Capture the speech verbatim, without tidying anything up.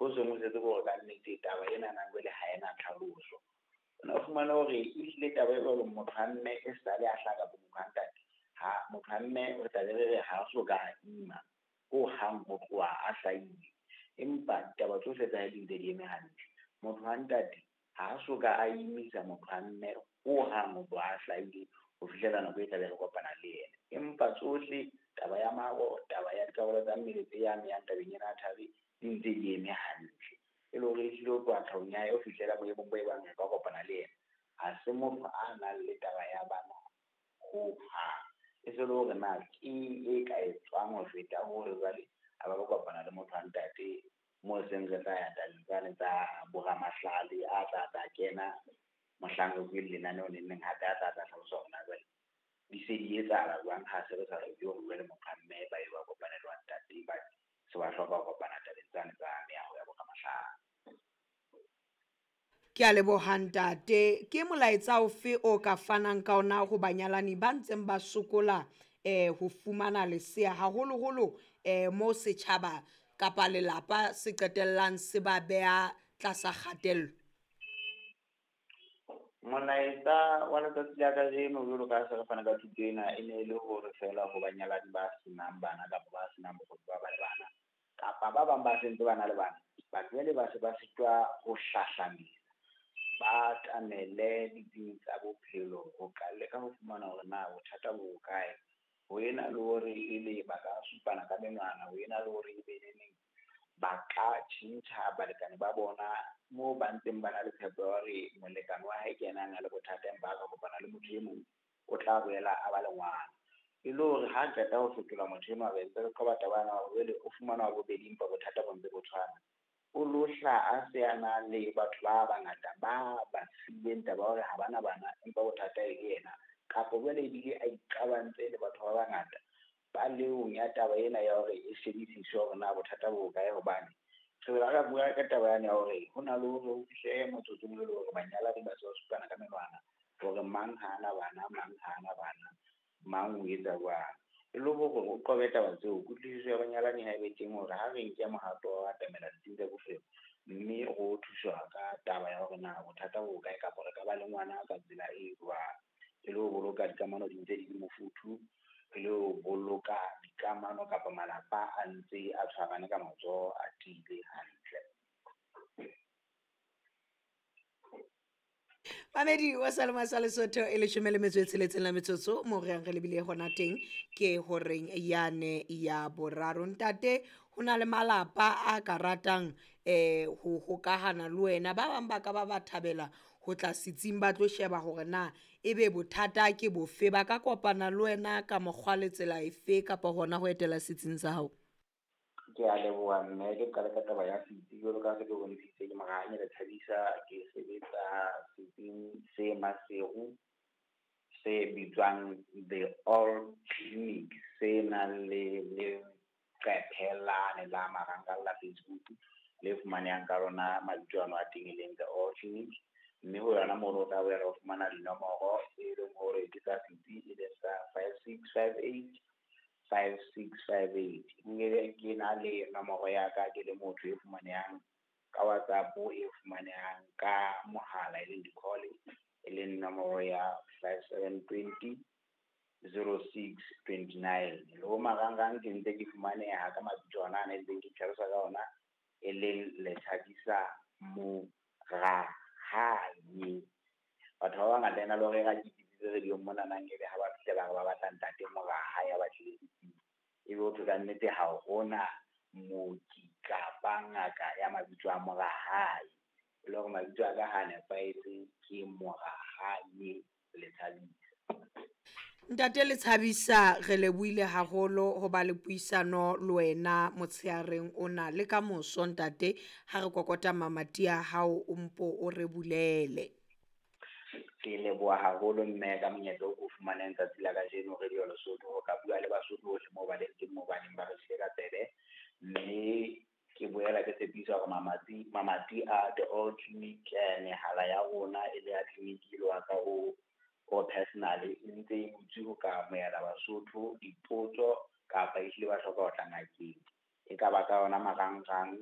Ho seng ho setse hore ka nnete taba ena na jwale ha ena tlhaloso. O na fumana hore ehlile taba e jwalo motho wa mme e sale a hlaha kapa motho wa ntate, ha motho wa mme re tla be re re ha so ka ima hohang ho tloha a hlahile, empa ditaba tsohle tsa hae di ntse di eme hantle. Motho wa ntate ha so ka a imisa motho wa mme hohang ho tloha a hlahile ho fihlela nako e tla be re kopana le yena, empa tsohle taba ya maro, taba ya dikarolo tsa mmele tse amehang tabeng ena ya thari di ntse di eme hantle. E le hore ehlile ho tloha tlhahong ya hae ho fihlela boemong bo e bang re ka kopana le yena, ha se motho a nang le taba ya bana hohang. E se le hore na keng e ka etswang ho feta hore jwale a ba ba kopana le motho wa ntate moo seng re tla ya tabeng tsane tsa boramahlale a tla tla kena mohlang re bueng lenaneo neneng hape a tla tla hlalosa hore na jwale di se di etsahala jwang ha se re sa re hore jwale motho wa mme ba ye ba kopane le wa ntate ba se ba hloka ho kopana tabeng tsane tsa meaho ya boramahlale. Ke a leboha ntate. Ke molaetsa ofe o ka fanang ka ona ho banyalani ba ntseng ba sokola eh ho fumana lesea, haholoholo eh mo setjhaba kapa lelapa se qetellang se ba beha tlasa kgatello? Molaetsa wa letsatsi la kajeno jwalo ka ha se re fana ka thuto ena, e ne e le hore feela ho banyalani ba senang bana kapa ba senang bokgoni ba ba le bana, kapa ba bang ba sentse ba na le bana, batho jwale ba se ba sitwa ho hlahlamela, ba atamele ditsing tsa bophelo ho ka leka ho fumana hore na bothata bo hokae. Ho ena le hore ebe ba ka supana ka menwana, ho ena le hore ebe neneng ba ka tjhentjha balekane ba bona moo ba ntseng ba na le tshepo ya hore molekane wa hae ke yena a nang le bothata empa a ka kopana le motho e mong o tla boela a ba le ngwana. E le hore ha qeta ho fetola motho enwa, re ntse re qoba taba ena hore jwale o fumana wa bobedi empa bothata bo ntse bo tshwana. O lo hlaha a se a na le batho ba bangata ba ba sileng taba ya hore ha bana bana empa bothata e le yena, kapa jwale ebile a iqabantse le batho ba bangata ba leong ya taba ena ya hore e shebisiswe hore na bothata bo hokae. Hobane re bela re bua ka taba yane ya hore ho na le hore ho fihle motsotsong e le hore banyalani ba se ba supana ka menwana hore mang ha ana bana, mang ha ana bana, mang o etsa jwang. E le hore o qobe taba tseo, kutlwisiso ya banyalani ha e be teng hore ha re nke mohato wa ho atamela ditsing tsa bophelo, mme ro thuswa ka taba ya hore na bothata bo hokae kapa re ka ba le ngwana ka tsela e jwang. E le ho boloka dikamano di ntse di le mofuthu, e le ho boloka dikamano kapa malapa a ntse a tshwarane ka matsoho a tiile hantle. Mamedi wa Salema sa Lesotho e leshome le metso e tsheletseng la metsotso mo re yang re lebile hona teng ke horeng yane ya boraro. Ntate, ho na le malapa a ka ratang eh ho hokahana le wena, ba bang ba ka ba ba thabela ho tla setsing ba tlo sheba hore na ebe bothata ke bofe, ba ka kopana le wena ka mokgwa le tsela efe kapa hona ho etela setsing sa hao? Ke a leboha mme, ke qale ka taba ya setsi jwalo ka ha se ke bontshitse ke Morahanye Lethabisa, ke sebetsa setsing se Maseru se bitswang The All Clinic, se nang le leqephe lane la marangrang la Facebook le fumanehang ka lona mabitso ano a teng e leng The All Clinic. Mme ho yona mono o tla boela o fumana dinomoro e leng hore ke tsa setsi, e leng sa five six five eight five six five eight. Nke ke na le nomoro ya ka ke le motho e fumanehang ka WhatsApp, e fumanehang ka mohala e leng di-call, e leng nomoro ya five seven twenty zero six twenty nine. Le ho marangrang ke ntse ke fumaneha ka mabitso ona a ntseng ke tlhalosa ka ona, e leng Lethabisa Morahanye. Batho ba bangata ena le hore ra ke bitsitse radio mona nang ebe ha ba fihle ba re ba batla ntate Morahaye a batlile setsing, ebe ho thwe ka nnete ha hona mooki kapa ngaka ya mabitso a Morahaye. E le hore mabitso a ka ha nepahetse ke Morahanye Lethabisa. Ntate Lethabisa, re lebohile haholo ho ba le puisano le wena motsheareng ona le ka moso ntate, ha re kokota mamati a hao o mpo o re bulele. Ke leboha haholo mme ka monyetla o ko fumaneng tsatsi la kajeno Radio Lesotho ho ka bua le Basotho bohle moo ba leng teng, moo ba neng ba re siile ka tsebe. Mme ke boela ke tshepisa hore mamati, mamati a The All Clinic, mehala ya rona e le ya clinic e le wa ka o, o personal e ntse e butswe ho ka amohela Basotho dipotso kapa ehlile ba hloka ho tla ngakeng. E ka ba ka yona marangrang